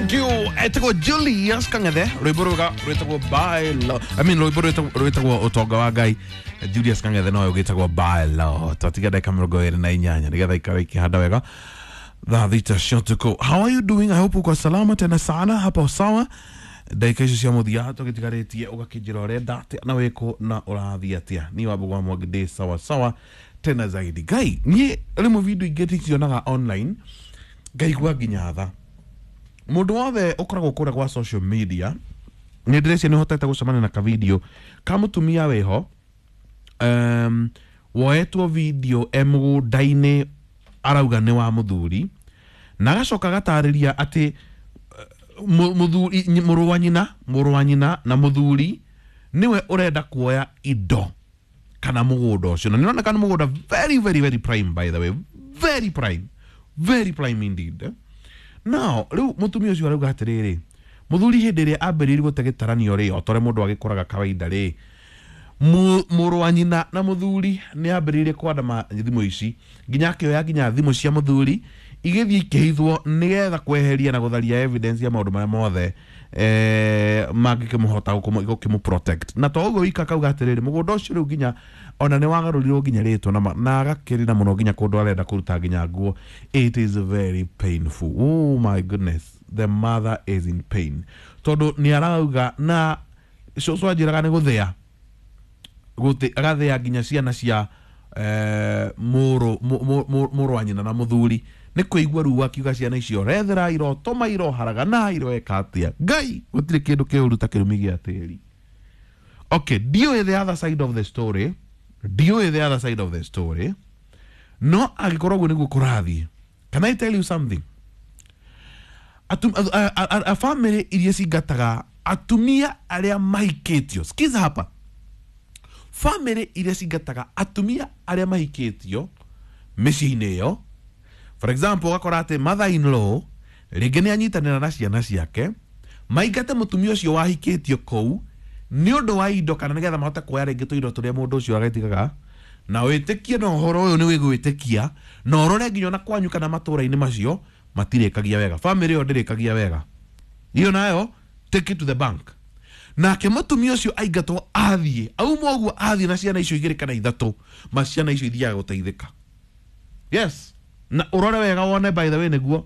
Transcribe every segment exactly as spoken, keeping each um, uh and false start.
Thank you. Etagwo Julius Kang'ethe, rwĩmbo rwega rwĩtagwo By Law. I mean, rwĩmbo rwĩtagwo rwĩtagwo Ũtonga wa Ngai. Julius Kang'ethe nowe ũgĩtagwo By Law. Twatiga ndagĩka mĩrongo ĩrĩ na inyanya nĩgetha ikare ikĩhanda wega thaa thita cia ũtukũ. How are you doing? I hope uko salama tena sana hapo, sawa. Ndagĩka icio cia mũthia tũgĩtigarĩtie ũgakĩnjĩra ũrenda atĩa na wĩkũ na ũrathiĩ atĩa. Niĩ Wambũgũ wa Mwangi ndĩ sawa sawa tena zaidi. Ngai, niĩ rĩmwe video ingĩ ndicionaga online ngaigua nginya tha. Mũndũ wothe ũkoragwo kũrĩa gwa social media, nĩ ndĩreciria nĩ ũhotete gũcemania na kavideo ka mũtumia wĩho, um, woetwo video e mũgũnda-inĩ arauga nĩ wa mũthuri, na agacoka agatarĩria atĩ mu- mũthuri, mũrũ wa nyina mũrũ wa nyina na mũthuri nĩwe ũrenda kuoya indo kana mũgũnda ũcio, na nĩroneka nĩ mũgũnda very very very prime, by the way, very prime, very prime indeed, eh? Now rĩu mũtumia ũcio arauga atĩrĩrĩ, mũthuri hĩndĩ ĩrĩa ambĩrĩirie gũte gĩtaranio rĩ, o ta ũrĩa mũndũ agĩkoraga kawaida rĩ, mu- mũrũ wa nyina na mũthuri nĩ ambĩrĩirie kwandama thimũ ici, nginya akĩoya nginya thimũ cia mũthuri igĩthiĩ ikĩhithwo nĩgetha kweheria na gũtharia evidence ya maũndũ marĩa mothe eh, mangĩkĩmũhota gũkĩmũ protect. Na to ũguo wika, akauga atĩrĩrĩ, mũgũnda ũcio rĩu nginya ona nĩ wagarũrirwo nginya rĩtwa na, ma- na agakĩrĩra mũno nginya kũndũ arenda kũruta nginya nguo. It is very painful. Oh my goodness, the mother is in pain, tondũ nĩ arauga na cũcũ anjĩraga nĩ gũthĩa gũthĩ agathĩa nginya ciana cia eh, mũrũ mũ- mũ- mũ- mũrũ wa nyina na mũthuri nĩ kũigua ruo, akiuga ciana icio rethera irotũma iroharagana iroeka atĩa. Ngai, gũtirĩ kĩndũ kĩũru ta kĩrumi gĩa tĩri. Okay, ndiũĩ the other side of the story, ndiũĩ the other side of the story, no angĩkorwo ũguo nĩguo kũrathiĩ, can I tell you something? Atum, a, a, a, a family iria cingataga atumia arĩa mahikĩtio, sikiza hapa, family iria cingataga atumia arĩa mahikĩtio mĩciĩ-inĩ ĩyo, for example, ũgakora atĩ mother in law rĩngĩ nĩ anyitanĩra na ciana ciake maingate mũtumia ũcio wahikĩtio kũu nĩ ũndũ wa indo kana nĩgetha mahote kuoya rĩngĩ tũindo tũrĩa mũndũ ũcio agetigaga. Na wĩtĩkie na ũhoro ũyũ nĩ wĩgwĩtĩkia na ũrore nginya ona kwanyu kana matũra-inĩ macio matirĩkagia wega, family ĩyo ndĩrĩkagia wega. Iyo nayo, take it to the bank. Nake mũtumia ũcio aingatwo athiĩ auma ũguo athiĩ na ciana icio igĩrĩ kana ithatũ, ma ciana icio ithiaga gũteithĩka. Yes, na ũrore wega wone, by the way, nĩguo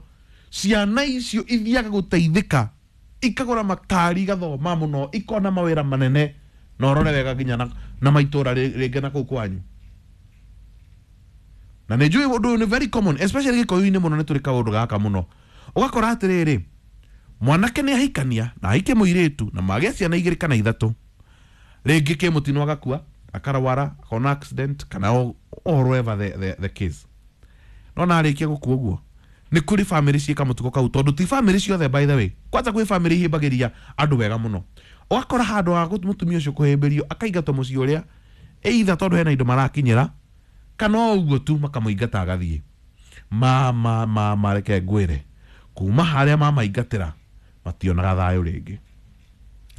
ciana icio ithiaga gũteithĩka, ikagũra makari, igathoma mũno, ikona mawĩra manene. Na ũrore wega nginya na, na maitũra rĩ- rĩngĩ na kũu kwanyu. Na nĩ njũĩ ũndũ ũyũ nĩ very common, especially gĩkũyũ-inĩ mũno nĩ tũrĩ kaũndũ gaka mũno. Ũgakora atĩrĩrĩ, mwanake nĩ ahikania na ahike mũirĩtu na magĩa ciana igĩrĩ kana ithatũ, rĩngĩ kĩ mũtino agakua, akarwara, akona accident kana o- or whatever the, the, the case. No narĩkia gũkua ũguo, nĩ kũrĩ family ciĩka mũtugo kau, tondũ ti family ciothe, by the way. Kwanza kwĩ family ihĩmbagĩria andũ wega mũno, ũgakora handũ ha mũtumia ũcio kũhĩmbĩrio akaingatwo mũciĩ ũrĩa, either tondũ hena indo marakinyĩra kana o ũguo tu makamũingata agathiĩ. Mama mama, reke ngwĩre, kuma harĩa mamaingatĩra mationaga thayũ rĩngĩ.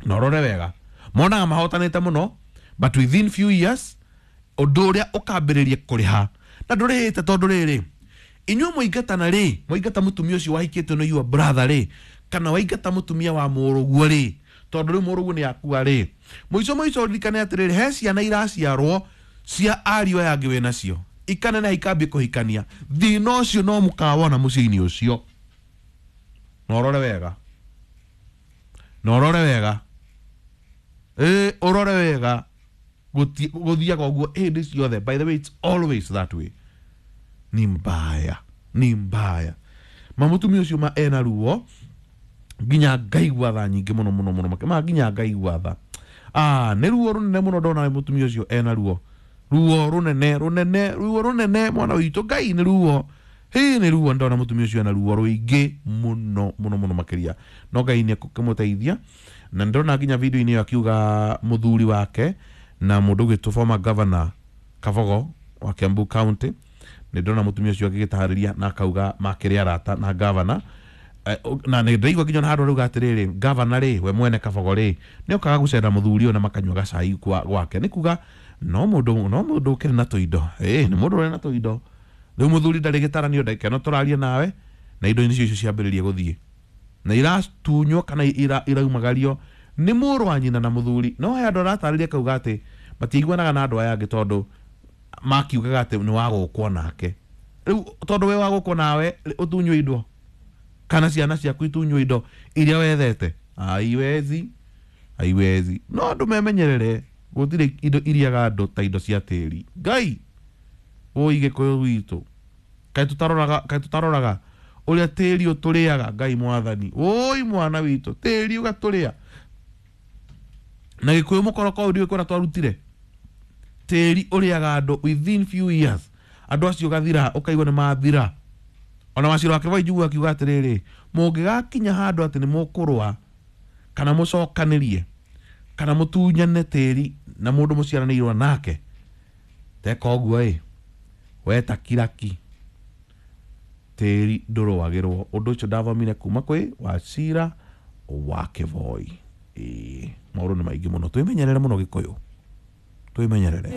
Na ũrore wega, monaga mahotanĩte mũno, but within few years ũndũ ũrĩa ũkambĩrĩria kũrĩha na ndũrĩhĩte, tondũ rĩrĩ, inyuĩ mũingatana rĩ, mwaingata mũtumia ũcio wahikĩtio nĩ your brother rĩ, kana waingata mũtumia wa mũrũguo rĩ, tondũ rĩu mũrũguo nĩ akua rĩ, mũico mũico ũririkane atĩrĩrĩ, he ciana iraciarwo cia ariũ aya angĩ wĩ nacio ikaneneha ikambia kũhikania. Thĩna ũcio no mũkawona mũciĩ-inĩ ũcio. Na ũrore wega, na ũrore wega, ĩ ũrore wega, Gũti- gũthiaga ũguo hĩndĩ ciothe. By the way, it's always that way. Ni mbaya, ni mbaya. Ma mũtumia ũcio ma ena ruo nginya ngaigua tha nyingĩ mũno mũno mũno makĩ- ma nginya ngaigua tha. Ah, nĩ ruo rũnene mũno ndona mũtumia ũcio ena ruo, ruo rũnene rũnene, ruo rũnene, mwana witũ Ngai, nĩ ruo hĩ, nĩ ruo. Ndona mũtumia ũcio ena ruo rũingĩ mũno mũno mũno makĩria, no Ngai nĩ ekũmũteithia. Na ndĩrona nginya video-inĩ ĩyo akiuga mũthuri wake na mũndũ ũgwĩtwo former governor Kabogo wa Kiambu County. Nĩ ndĩrona mũtumia ũcio agĩgĩtarĩria na akauga makĩrĩ arata na governor. Eh, na nĩ ndĩraigua nginya ona handũ arauga atĩrĩrĩ, governor rĩ, we mwene Kabogo rĩ, nĩ okaga gũcera mũthuri ũyũ na makanyua gacai kwa gwake. Nĩ kuga no mũndũ no mũndũ ũkĩrĩ na tũindo, ĩ nĩ mũndũ ũrĩ na tũindo. Rĩu mũthuri ndarĩ gĩtaranio, ndagĩka ĩno tũraria nawe, na indo nicio icio ciambĩrĩria gũthiĩ. Na iratunywo kana ira, iraumagario nĩ mũrũ wa nyina na mũthuri. No he andũ aratarĩria kauga atĩ matiiguanaga na andũ aya angĩ tondũ makiugaga atĩ nĩ wagũkwo nake. Rĩu tondũ we wagũkwo nawe ũtunywo indo kana ciana ciaku itunywo indo iria wethete, haiwezi, haiwezi. No andũ memenyerere, gũtirĩ indo iriaga andũ ta indo cia tĩri. Ngai ũi Gĩkũyũ gwitũ, kaĩ tũtaroraga, kaĩ tũtaroraga ũrĩa tĩri ũtũrĩaga? Ngai mwathani, ũi mwana witũ, tĩri ũgatũrĩa na Gĩkũyũ mũkoroko ũyũ ndiũĩ kũrĩa twarutire. Tĩri ũrĩaga andũ within few years, andũ acio ũgathira, ũkaigua nĩ mathira. Ona Wacira wa Kĩboi njiguaga akiuga atĩrĩrĩ, mũngĩgakinya handũ atĩ nĩ mũkũrũa kana mũcokanĩrie kana mũtunyane tĩri na mũndũ mũciaranĩirwo nake, teka ũguo ĩ weta kiraki, tĩri ndũrũagĩrwo. Ũndũ ũcio ndathomire kuma kwĩ Wacira wa Kĩboi. Ĩĩ, maũndũ nĩ maingĩ mũno, twĩmenyerere mũno Gĩkũyũ, twĩmenyerere.